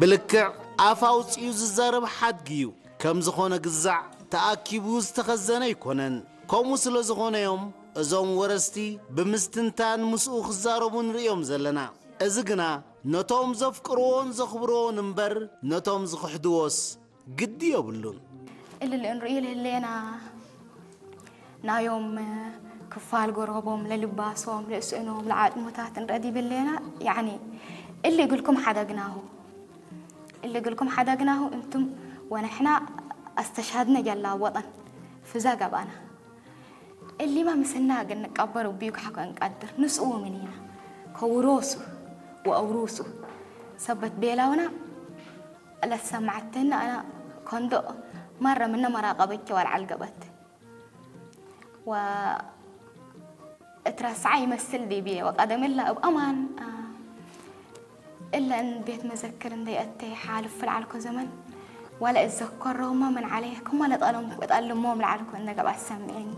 ብልክዕ ኣፍ ኣውጺኡ ዝዛረብ ሓድጊ እዩ። ከም ዝኾነ ግዛዕ ተኣኪቡ ዝተኸዘነ ኣይኮነን። ከምኡ ስለ ዝኾነ እዮም እዞም ወረስቲ ብምስትንታን ምስኡ ክዛረቡ ንርእዮም ዘለና። እዚ ግና ነቶም ዘፍቅርዎን ዘኽብርዎን እምበር ነቶም ዝኽሕድዎስ ግዲ የብሉን። እልል እንርእዩ ልህሌና ናዮም ክፋል ጎረቦም ለልባሶም ለስእኖም ለዓጥሙታት እንረዲ ብሌና ያኒ እሊ እግልኩም ሓደግናሁ እሊ እግልኩም ሓደግናሁ እንቱም ወነሕና ኣስተሻድነ ጀላ ወጠን ፍዛ ገባና እሊማ ምስና ግን ንቀበሩ ቢዩ ካሕኮ እንቀድር ንስኡ ምኒና ከውሮሱ ወአውሩሱ ሰበት ቤላውና ለሰማዕተና ኣና ኮንዶ ማረ ምነ መራቀበቸ ወልዓል ገበት ወ እትረስዓ ይመስል ዲብየ ወቀደም እላ እብ ኣማን እለን ቤት መዘክር እንደይ ኣተ ሓልፍ ልዓልኮ ዘመን ዋላ እዘከሮማ ምን ዓለየ ከማ ለጠሎም እጠልሞም ልዓልኮ እነገብ ኣሰምዕኒ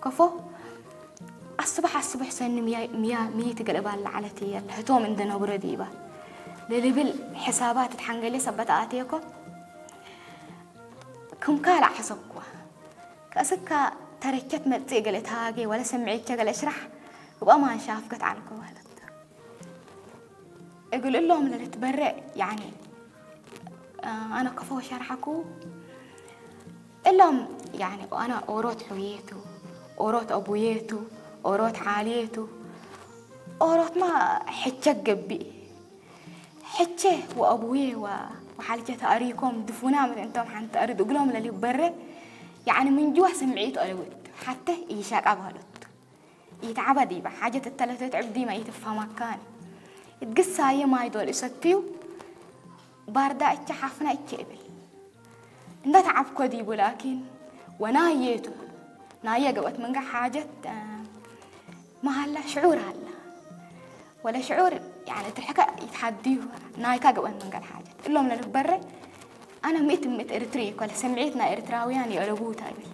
ከፎ ኣስብሕ ኣስብሕ ሰኒ ሚያ ሚያ ሚይት ገልባል ለዓለት እየ ለህቶም እንደነብረ ዲባ ለልብል ሕሳባት ትሓንገሌ ሰበት ኣትየኮ ክም ካልእ ሓሰብኩዋ ከእስካ ተረቸት መጽእ ገለ ተሃጌ ወለ ሰምዒቸ ገለ እሽራሕ እብ ኣማን ሻፍገት ዓልኮ ማለት እግል እሎም ለልትበረእ ያኒ ኣነ ከፎ ሸርሓኩ እሎም ያኒ ኣነ ኦሮት ሑየቱ ኦሮት ኣቡየቱ ኦሮት ዓልየቱ ኦሮትማ ሕቸ ገብእ ሕቸ ወአቡዬ ወ- ወሓልቸ ተአሪኮም ድፉና ምእንቶም ሓንቲ ተእርድ እግሎም ለሊበረ ያዕኒ ምንጅዋ ስምዒት ኦለውት ሓተ ኢሻቃ ባህሎት ኢትዓባ ዲባ ሓጀት እተለተት ዕብዲማ ኢትፋማካኒ እትግሳየ ማይ ዶል እሰትዩ ባርዳ እቸ ሓፍና እቸ እብል እንዳ ተዓብኮ ዲቡ ላኪን ወናየቱ ናየ ገበት መንጋ ሓጀት መሃላ ሽዑር ኣላ ወለ ሽዑር ያኒ ትርሕካ ይትሓድዩ ናይካ ገበት መንጋ ሓጀት እሎም ለልበረ ኣነ ምእት ምእት ኤርትሪ ኮለ ስምዒት ናይ ኤርትራውያን የለቡታ ይብል